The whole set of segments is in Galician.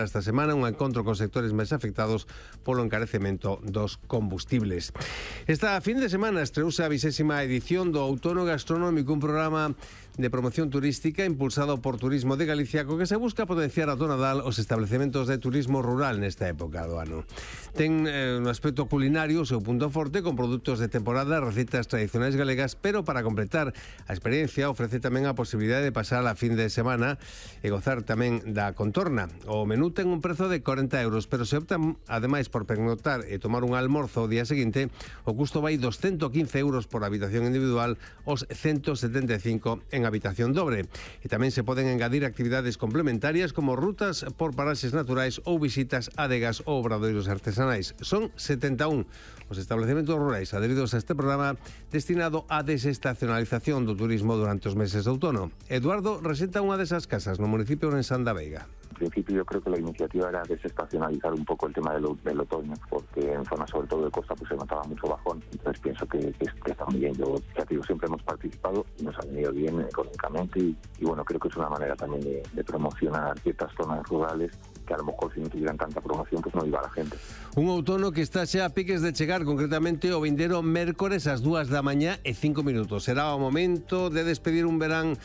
Esta semana un encontro con sectores máis afectados polo encarecemento dos combustibles. Esta fin de semana estreouse a 20ª edición do Outono Gastronómico, un programa de promoción turística impulsado por Turismo de Galicia, co que se busca potenciar a do Nadal os establecementos de turismo rural nesta época do ano. Ten un aspecto culinario o seu punto forte, con produtos de temporada, recetas tradicionais galegas, pero para completar a experiencia ofrece tamén a posibilidade de pasar a fin de semana e gozar tamén da contorna. O menú ten un prezo de 40 euros, pero se optan ademais por pernoctar e tomar un almorzo o día seguinte, o custo vai dos 115 euros por habitación individual aos 175 en habitación dobre. E tamén se poden engadir actividades complementarias como rutas por paraxes naturais ou visitas a adegas ou obradoiros artesanais. Son 71 os establecementos rurais adheridos a este programa destinado á desestacionalización do turismo durante os meses de outono. Eduardo resenta unha desas casas no municipio de San da Veiga. En principio yo creo que la iniciativa era desestacionalizar un poco el tema del otoño, porque en zonas sobre todo de costa pues se notaba mucho bajón. Entonces pienso que está muy bien. Yo, ya te digo, siempre hemos participado y nos ha venido bien económicamente y bueno, creo que es una manera también de promocionar ciertas zonas rurales que a lo mejor si no tuvieran tanta promoción pues no iba a la gente. Un outono que está xa a piques de chegar, concretamente o vindeiro mércores ás 2 da mañá e 5 minutos. Será o momento de despedir un verán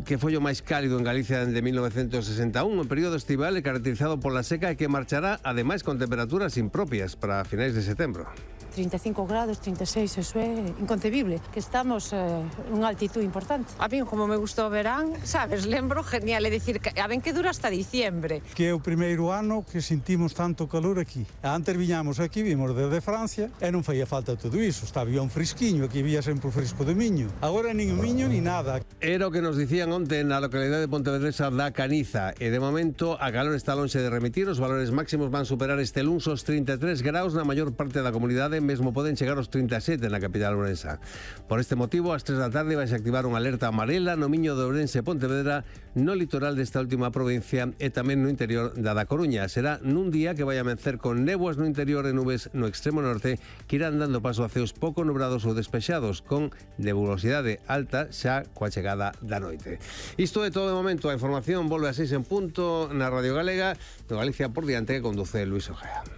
que foi o máis cálido en Galicia desde 1961, un período estival caracterizado pola seca e que marchará ademais con temperaturas impropias para finais de setembro. 35 grados, 36, eso é inconcebible, que estamos nunha altitud importante. A mí, como me gustou o verán, sabes, lembro genial, é dicir, que a ben que dura hasta diciembre. Que é o primeiro ano que sentimos tanto calor aquí. Antes viñamos aquí, vimos desde Francia, e non faía falta todo iso, estaba un fresquiño, aquí había sempre o fresco de Miño. Agora nin o Miño ni nada. Era o que nos dicían onte na localidade de Pontevedresa da Caniza, e de momento a calor está lonxe de remitir, os valores máximos van superar este luns os 33 graus na maior parte da comunidade, mesmo poden chegar aos 37 na capital ourensa. Por este motivo, ás 3 da tarde vais a activar unha alerta amarela no Miño de Ourense e Pontevedra, no litoral desta última provincia e tamén no interior da Coruña. Será nun día que vai amencer con néboas no interior e nubes no extremo norte que irán dando paso a ceos pouco nubrados ou despexados, con nebulosidade alta xa coa chegada da noite. Isto é todo de momento. A información volve a 6 en punto na Radio Galega, de Galicia por diante, que conduce Luis Ojea.